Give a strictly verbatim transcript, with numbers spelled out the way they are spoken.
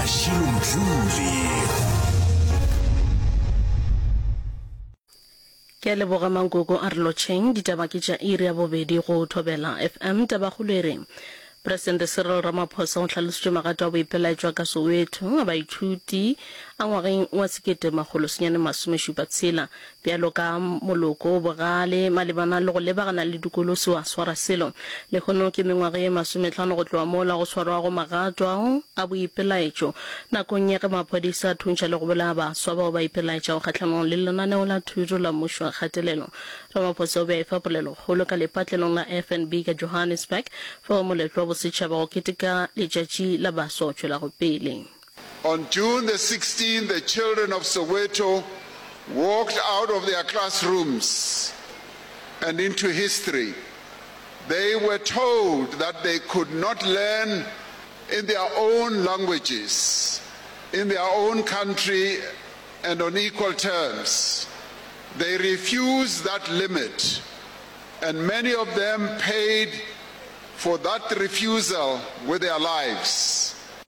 Mashilo Mdluli. Ke a leboga Mankoko a re lotšheng. Ditaba ke tša iri ya bobedi go Thobela F M. Tabakgolo e re Presidente Cyril Ramaphosa o hlalositše magato a boipelaetšo a ka Soweto a baithuti a ngwageng wa sekete makgolo senyane masome šupa tshela bjalo ka moloko o bogale malebana le go lebagana le dikolo se wa swara selo. Lehono ke mengwaga ye masometlhano go tloga mola go swarwago magato ao a boipelaetšo nakong ya ge maphodisa a thuntšha le go bolaya baswa bao ba ipelaetšago kgahlanong le lenaneo la thuto la mmušo wa kgatelelo. Ramaphosa o be a efa polelokgolo ka lepatlelong la F N B ka Johannesburg fao moletlo wa bosetšhaba go keteka Letšatši la Baswa o tšwelago pele. On June the sixteenth, the children of Soweto walked out of their classrooms and into history. They were told that they could not learn in their own languages, in their own country and on equal terms. They refused that limit, and many of them paid for that refusal with their lives.